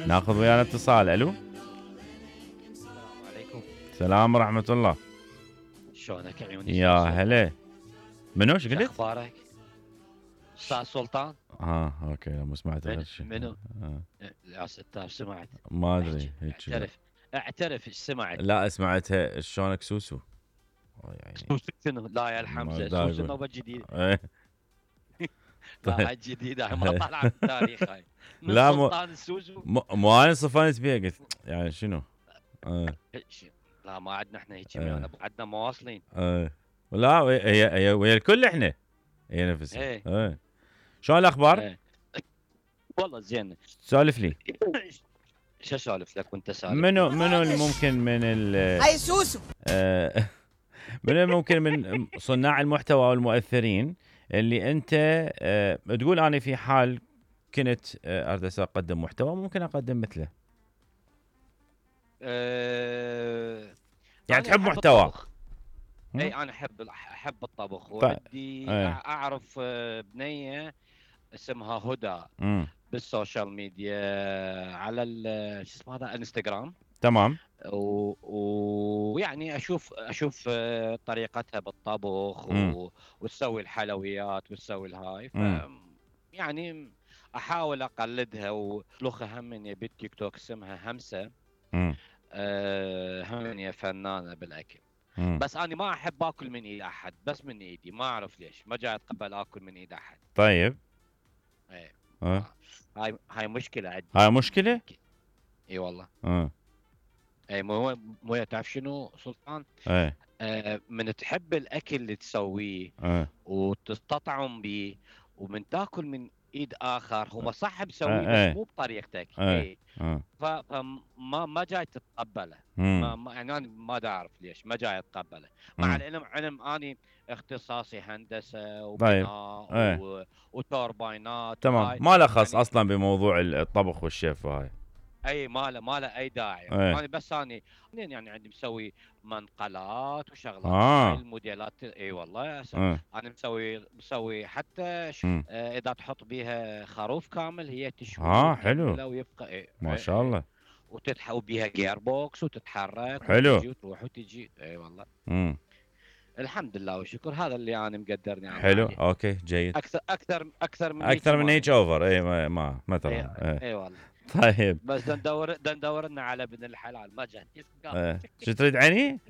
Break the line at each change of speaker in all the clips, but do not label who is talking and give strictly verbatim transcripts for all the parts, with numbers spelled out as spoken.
ناخذ ويانا اتصال. الو
السلام عليكم.
السلام ورحمة الله.
شلونك يا عيوني؟
يا هلا. منو ايش
شو
قلت؟
اخبارك؟ استاذ سلطان.
اه اوكي مو سمعت غير
من
شيء.
منو؟
آه.
يا ستار سمعت.
ما ادري هيك.
اعترف اعترف ايش سمعت.
لا سمعتها شلونك سوسو. يعني
سوسو شنو؟ لا يا الحمزه سوسو نوبه جديده.
ايه
لا هاي جديده هاي ما طالعه من التاريخ هاي. من
لا
سلطان السوسو.
مو انا صفنت بيها قلت يعني شنو؟ ايه
لا ما عندنا احنا هيك
ايه.
عندنا مواصلين.
ايه لا هي هي ويا الكل احنا هي نفسها.
ايه
ايه شلون الاخبار؟
ايه. والله زين.
سولف لي.
شو اسولف لك وانت سالف؟
منو منو الممكن من ال
هاي سوسو
آه منو الممكن من صناع المحتوى والمؤثرين اللي انت آه تقول انا في حال كنت آه اريد اقدم محتوى ممكن اقدم مثله؟
أه...
يعني تحب محتوى؟
اي انا احب احب الطبخ ودي
ايه.
اعرف بنيه اسمها هدى
مم.
بالسوشيال ميديا على شو اسمه هذا انستغرام.
تمام.
ويعني اشوف اشوف طريقتها بالطبخ و... وتسوي الحلويات وتسوي الهاي ف يعني احاول اقلدها. ولوخها هم من بالتيك توك اسمها همسه. أه هم فنانه بالاكل. مم. بس انا ما احب اكل من ايد احد بس من ايدي ما اعرف ليش ما جاي اتقبل اكل من ايد احد.
طيب
ايه
أه.
هاي هاي مشكله عندي.
هاي مشكله؟
اي والله.
اه
اي مو مو تعرف شنو سلطان؟
ايه
آه من تحب الاكل اللي تسويه
اه
وتستطعم به ومن تاكل من ايد اخر هو صح بسويه
اه
بس مو بطريقتك.
اه
اي
اه
فما ما جاي تتقبله. ما, ما يعني انا ما اعرف ليش ما جاي اتقبله مع العلم علم اني اختصاصي هندسه وبناء
طيب.
و... وتوربينات.
تمام ما له خص يعني اصلا بموضوع الطبخ والشيف وهاي.
اي ما له ما له اي داعي.
ايه.
انا بس اني يعني عندي مسوي منقلات وشغلات.
آه.
هاي الموديلات. اي والله يا
آه.
انا مسوي مسوي حتى ش... آه اذا تحط بيها خروف كامل هي تشوي.
اه حلو
ويبقى إيه.
ما شاء الله.
وتتحول بيها جير بوكس وتتحرك.
حلو.
وتجي وتروح وتجي. اي والله.
امم
الحمد لله والشكر. هذا اللي انا مقدرني عنه.
حلو عليه. اوكي جيد.
اكثر اكثر اكثر من
اكثر من هيك اوفر. اي ما ما, ما ترى.
اي
اي,
اي والله.
طيب
بس ندور ندور لنا على ابن الحلال ما جاء.
ايه. شو تريد عيني؟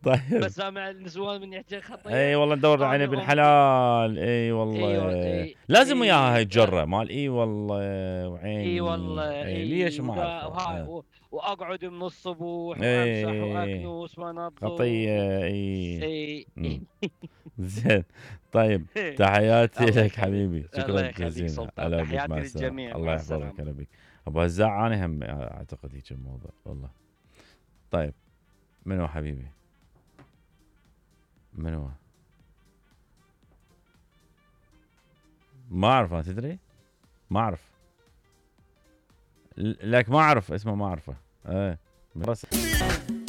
طيب
بس سامع النسوان من يحكي خطيه.
اي والله ندور على ابن الحلال. اي والله
أي أي
لازم وياها
أي
هاي الجره مال اي والله وعيني.
اي والله.
اي
أي
ليش ما اعرف.
و... واقعد من الصبح
أي
وامسح واكنس وانظف
خطيه. اي
اي
زين. طيب تحياتي لك حبيبي.
شكرا
جزيلا.
تحياتي للجميع.
الله يحفظك. انا بك ابو هزاع انا هم اعتقد هيك الموضوع والله. طيب منو حبيبي؟ منو؟ ما اعرف. ما تدري؟ ما اعرف لك. ما اعرف اسمه ما اعرفه. ايه بس